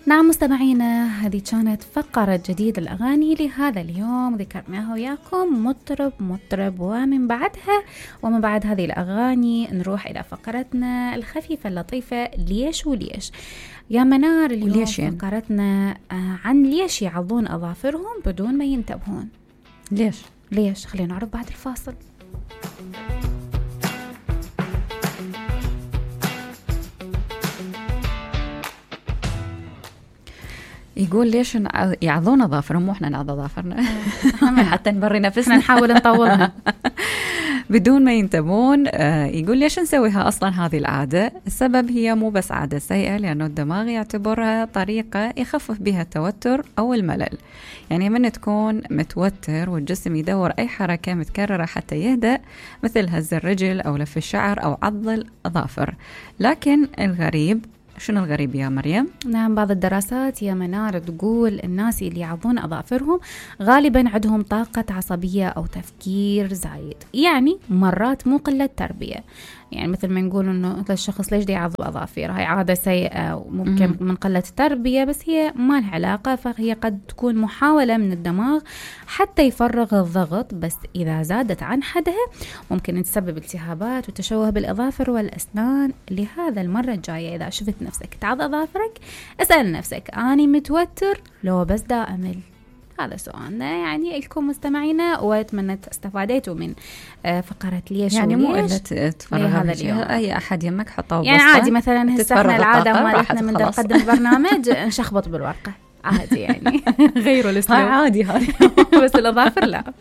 نعم مستمعينا، هذه كانت فقرة جديدة الأغاني لهذا اليوم، ذكرناها وياكم مطرب ومن بعد هذه الأغاني نروح إلى فقرتنا الخفيفة اللطيفة ليش وليش يا منار. اليوم فقرتنا عن ليش يعضون أظافرهم بدون ما ينتبهون. ليش خلينا نعرف بعد الفاصل. يقول ليش يعضون أظافرهم وإحنا نعض أظافرنا حتى نبري نفسنا نحاول نطولها بدون ما ينتبهون. يقول ليش نسويها أصلا هذه العادة؟ السبب هي مو بس عادة سيئة، لأنه الدماغ يعتبرها طريقة يخفف بها التوتر أو الملل. يعني من تكون متوتر والجسم يدور أي حركة متكررة حتى يهدأ، مثل هز الرجل أو لف الشعر أو عض الأظافر. لكن شنو الغريب يا مريم؟ نعم، بعض الدراسات يا منار تقول الناس اللي يعضون أظافرهم غالبا عندهم طاقة عصبية أو تفكير زايد، يعني مرات مو قلة تربية. يعني مثل ما نقول إنه الشخص ليش دي يعض أظافره، هاي عادة سيئة وممكن من قلة تربية، بس هي ما لها علاقة. فهي قد تكون محاولة من الدماغ حتى يفرغ الضغط، بس إذا زادت عن حدها ممكن تسبب التهابات وتشوه بالأظافر والأسنان. لهذا المرة الجاية إذا شفت نفسك تعض أظافرك، اسأل نفسك أني متوتر لو بس دا أمل؟ هذا سؤالنا يعني لكم مستمعينا، واتمنى استفاديتوا من فقرة ليش يعني وليش. مو إلا تتفرغ هذا اليوم أي أحد يمك حطه يعني عادي، مثلا هسه احنا العادة مالتنا من نقدم البرنامج نشخبط بالورقة عادي يعني غيروا الاسلوب عادي هذه بس الأظافر لا.